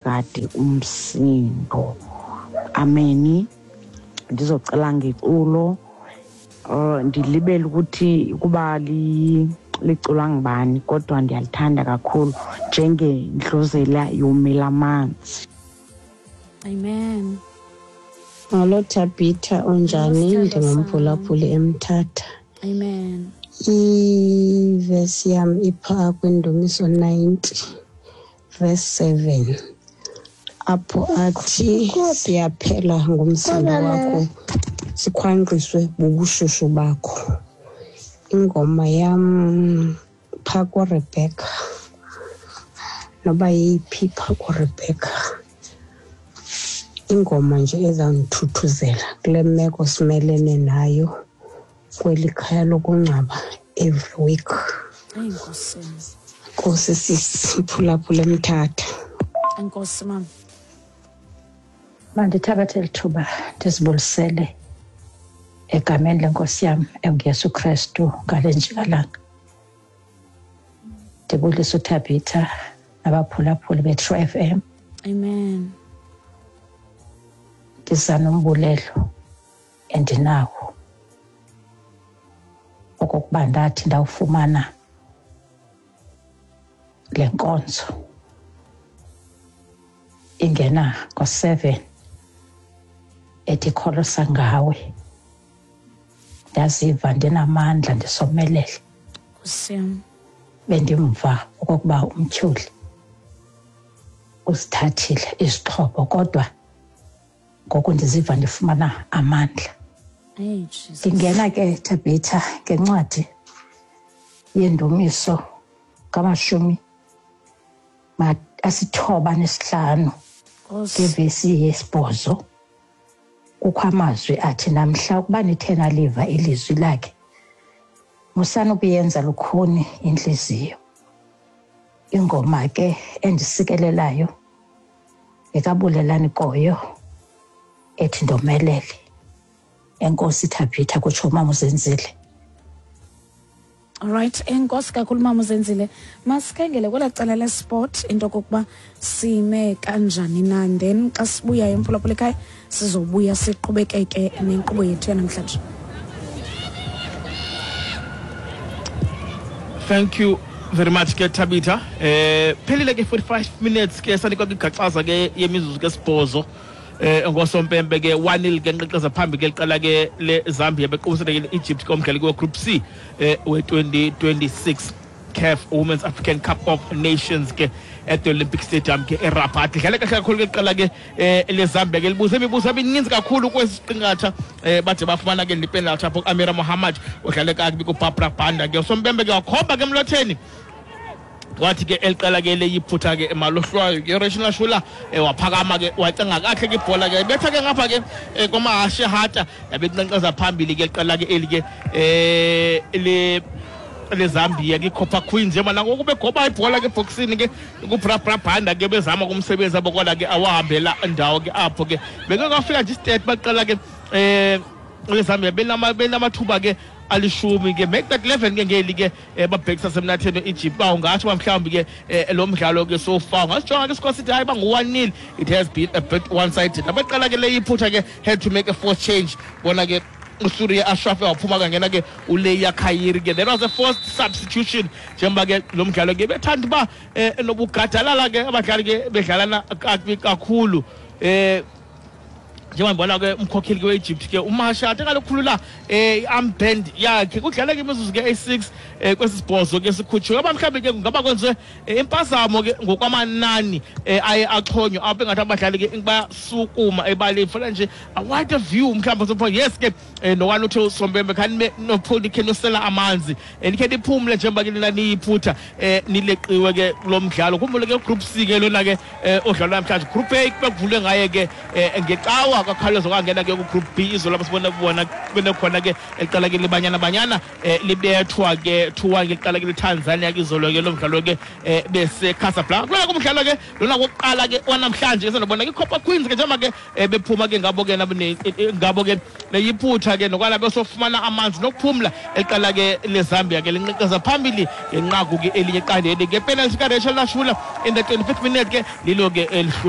Ungagadi umsindo. Ameni. Ndizocela ngeculo, ndilibele ukuthi ukuba liculwa ngubani, kodwa ndiyalithanda kakhulu, njengendluzela yomela amanzi. Amen. Molo Thabitha, unjani? Molo, sithandwa. Ndingumphulaphuli eMthatha. Amen. Ivesi yam ipha kwiNdumiso 90 verse 7, apho athi siyaphela ngumsindo wakho, sikhwankqiswe bubushushu bakho. Ingoma yam phaa kuRebecca, noba yeyiphi phaa kuRebecca, ingoma nje ezawundithuthuzela kule meko simelene nayo kweli khaya lokungcwaba every week. Enkosi. Nkosi sisi, mphulaphula eMthatha. Enkosi mama. Mandithabathe eli thuba ndizibulisele egameni lenkosi yam enguYesu Krestu ngale njikalanga. Ndibulisa uThabitha nabaphulaphuli beTrue FM. Amen. Ndiza nombulelo endinawo okokuba ndathi ndawufumana le nkonzo ingena ngo-7 ethi kholosa ngawe, ndaziva ndinamandla, ndisomelele. Nkosi yam. Bendimva okokuba umtyholi uzithathile izixhobo, kodwa ngoku ndiziva ndifumana amandla. Hey, Jesus. Ndingena ke Thabitha ngencwadi yendumiso ngamashumi 95 Nkosi. ngevesi yesibhozo. Kukho amazwi athi, namhla ukuba nithe naliva ilizwi lakhe, musani ukuyenza lukhuni intliziyo. Ingoma ke endisikelelayo ngekabulelani Koyo ethi ndomelele. Enkosi Thabitha, kutsho umama uZenzile. Alright, enkosi kakhulu mama uZenzile. Masikhangele kwelaa cala lesport into okokuba sime kanjani na, then xa sibuyayo emphulaphula ekhaya sizobuya siqhubekeke nenkqubo yethu yanamhlanje. Thank you very much ke Thabitha. Phelile ke 45 minutes ke, sanikwa kwigaxaza ke yemizuzu ke sibhozo. Ngosompempe ke 1-0 ke nqeqeza phambi ke liqala ke le Zambia bequbisana ke Egypt komdlali ke Group C we 2026 CAF Women's African Cup of Nations ke at the Olympic Stadium ke eRabat. Idlale kahle kakhulu ke liqala ke le Zambia ke, libuze imibuzo emininzi kakhulu kwesi siqingatha, bade bafumana ke lipenalty apho Amira Mohammed udlale kakubi kuBarbara Banda ke. Usompempe ke wakhomba ke emlotheni, wathi ke eliqela ke leyiphutha ke malohlwayo ke. Rachel Shula waphakama ke wacenga kahle ke ibhola ke, betha ke ngapha ke komahashe hata, yabe inqenqeza phambili ke liqela ke eli ke le leZambia ke Copper Queens. Njengoba nangoku begoba ibhola ke ebhokisini ke kuBrabra Banda ke, bezama kumsebenzi abo, kodwa ke awahambela ndawo ke apho ke. Bekangafika nje istat baqala ke leZambia benamathuba ke 10 ke, make that 11 ke ngeli ke babhekisa semnatheni Egypt. Ba ungatsho uba mhlawumbi ke lo mdlalo ke so far ungasijonga ke score sithi hayi bangu-1-0, it has been a bit one sided. Nabaqala ke leyiphutha ke had to make a forced change bona ke, uSuriya Ashraf waphuma kangena ke uLeya Khayiri ke. That was a forced substitution njengoba ke lo mdlalo ke bethanda uba nobugadalala ke, abadlali ke bedlalana kakubi kakhulu. Njengoba ndibona ke umkhokheli ke we-Egypt ke uMashate kalokhulula i-armband yakhe, kudlala ke imizuzu ke eyi-6 kwesi sibhozo ke sikhutshiwe. Aba mhlawumbi ke kungaba kwenziwe impazamo ke ngokwamanani aye axhonywa apho, engathi abadlali ke bayasukuma ebaleni fana nje a wider view mhlawumbi sopho. Yes ke, nowani uthe usompempe khanibe nikhe nosela amanzi, nikhe niphumle njengoba ke nina niyiphutha, nileqiwe ke kulo mdlalo. Khumbule ke Group C ke lona ke odlalwa namhlanje. Group A bekuvulwe ngaye ke ngecawa, kwakhawuleza kwangena ke ku-Group B izolo apho sibona kubona benekhona ke eliqala ke liBanyana Banyana libethwa ke 2-1 ke liqala ke liTanzania ke izolo ke lo mdlalo ke bese Casablanca. Kulona ke umdlalo ke lona wokuqala ke wanamhlanje ke, sandobona ke iCopper Queens ke njengoba ke bephuma ke ngabo ke ngabo ke neyiphutha ke, nokwala besofumana amanzi nokuphumla. Eliqala ke leZambia ke linqeqeza phambili ngenqaku ke elinye eqandeni ke, penalty kaRachel Nashula in the 25th minute ke, lilo ke elihlula.